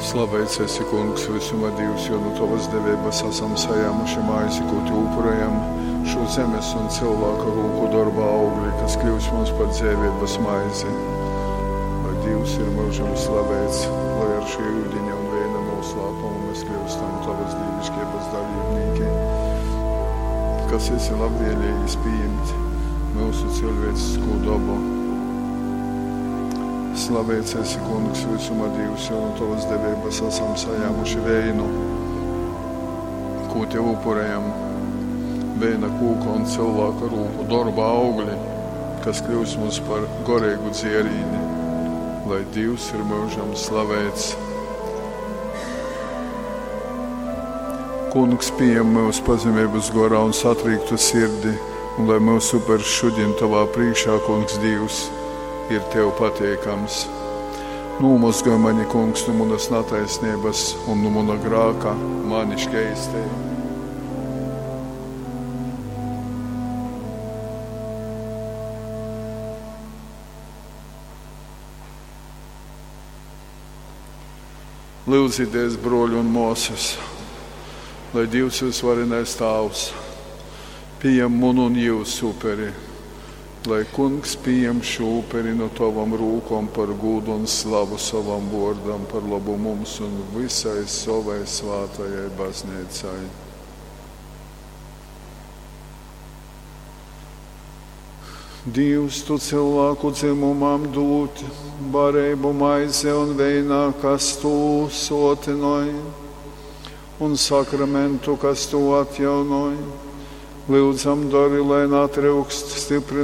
Slaveits esi, Kungs, vysuma Dīvs, jo nu tovas deveibas asam sajāmuši maizi, kū tev upurējam, šū zemes un cylvāka rūku dorba augli, kas kļūs mums par dzeiveibas maizi. Lai Dīvs ir myužam slaveits, lai ar šī yudiņa un veina nūslāpumu mēs kļūstam tavas dīviškeibas dalībnīki, kas esi labvēlīgis pījimt myusu cilvēciskū dobu. Slaveits esi, Kungs, visuma Dīvs, jo no tovas deveibas esam sajāmuši veinu, kū tev upurējam, veina kūka un cilvēka rūku dorba augļi, kas kļūs mums par goreigu dzierīni, lai Dīvs ir myužam slaveits. Kungs pieņem mūsu pazemības gorā un satrīktu sirdi, un lai mūsu upers šodien tavā priekšā, Kungs Dīvs, ir tev pateikams. Nūmozgoj mani, Kungs, no manas nataisnības un no mana grāka mani škeistē. Lūdzieties, broļi un māsas, lai Dievs visvarenais Tāvs pieņem munu un jūsu uperi, lai Kungs pieņem šo uperi no tavam rūkom par gūdu un slavu savam vārdam, par labu mums un visai savai svātajai baznīcai. Dievs, tu cilvēku dzimumam dūt barību maize un veinā, kas tu sotinoj, un sakramentu, kas tu atjaunoj. Lūdzam, dari, lai natryukst stiprinājuma.